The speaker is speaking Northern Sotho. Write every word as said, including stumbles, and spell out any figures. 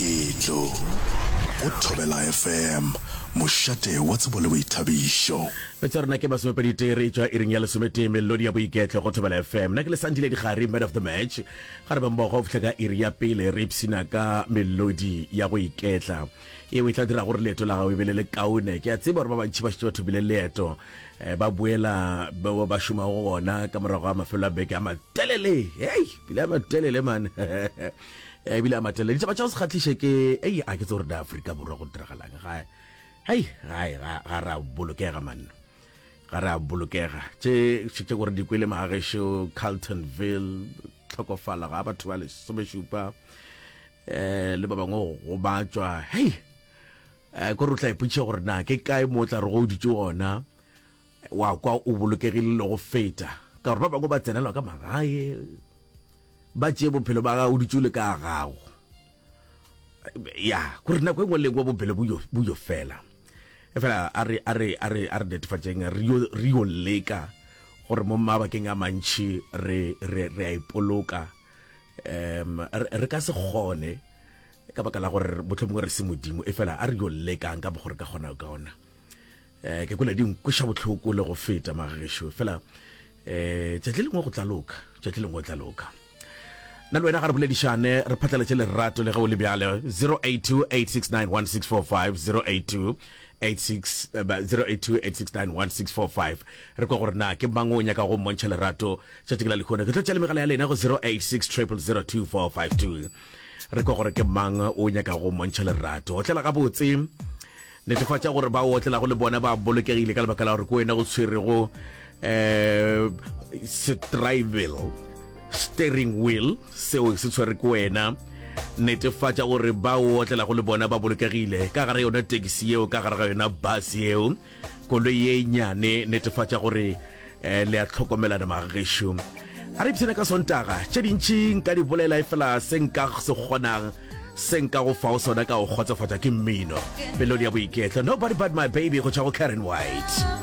Boiketlo go Thobela F M, mošate wa tsebo le boithabišo. Metsa rena ke masomepedi tee re tšwa iring ya lesometee, melodi ya boiketlo go Thobela F M. Nna ke le Sandile Dikgari, man of the match. Ga re be mmogo go fihla ka iri ya pele, re ipshina ka melodi ya go iketla yeo e tla dira gore leeto la gago e be le le kaone. Ke a tseba gore ba bantši ba šetše ba thomile leeto, eh, ba boela ba ba šomago gona ka morago ga mafelo a beke a matelele. Hei, pele a matelele man, ebile a matelele. Ditaba tša go se kgahliše ke ei, a ke tse gore na Afrika Borwa go diragalang ga hei gae. ga ga ra bolokega man, ga re a bolokega. Tše tše gore di kwele magagešo, Carltonville, tlhokofala ga batho ba lesomešupa, um le ba bangwe go gobatšwa. Hei, um kore o tla ipotšiša gore na ke kae mo o tla re go o dutše gona wa kwa o bolokegile le go feta, ka gore ba bangwe ba tsenelwa ka magae, ba tšee bophelo ba gago o dutše o le ka gago. Ya kore nako e nngwe le nngwe bophelo bo yo- bo yo fela. E fela a re a re a re a re netefatšeng, re yo re yo leka gore mo mabakeng a mantši re re re a ipoloka. um re re ka se kgone ka baka la gore mohlomongwe re se Modimo, e fela a re yo lekang ka gore ka kgona ka ona. um ke kwele di nkweša bohloko le go feta magagešo, fela um tšatši le lengwe go tla loka, tšatši le lengwe go tla loka. Nna le wena ga re boledišane, re phatlaletše lerato le ge o le bjale. zero eight two, eight six nine, one six four five, zero eight two eight six zero eight two eight six nine one six four five. Re kwa gore na ke mang o nyaka go mmontšha lerato tšatši ke la lehono. Ke tlo tšea le megala ya lena go zero eight six zero zero zero two four five two. Re kwa gore ke mang o nyaka go mmontšha lerato. Otlela gabotse, netefatša gore ba o otlelago le bona ba bolokegile, ka lebaka la gore ke wena go tshwerego um setrival steering wheel, seo se tshwere ke wena. Netefatša gore ba o otlelago le bona ba bolokegile ka gare yona taxi yeo, ka gare ga yona bus yeo, koloi ye nyane. Netefatša gore um le a tlhokomelana magagešo. A re ipshine ka Sontaga. Tše dintši nka di bolela, e fela se nka se kgonang, se nka go fao sona ka go kgotsofatša ke mmino, melodi ya boiketlo. "Nobody But My Baby" go tšwa go Karen White.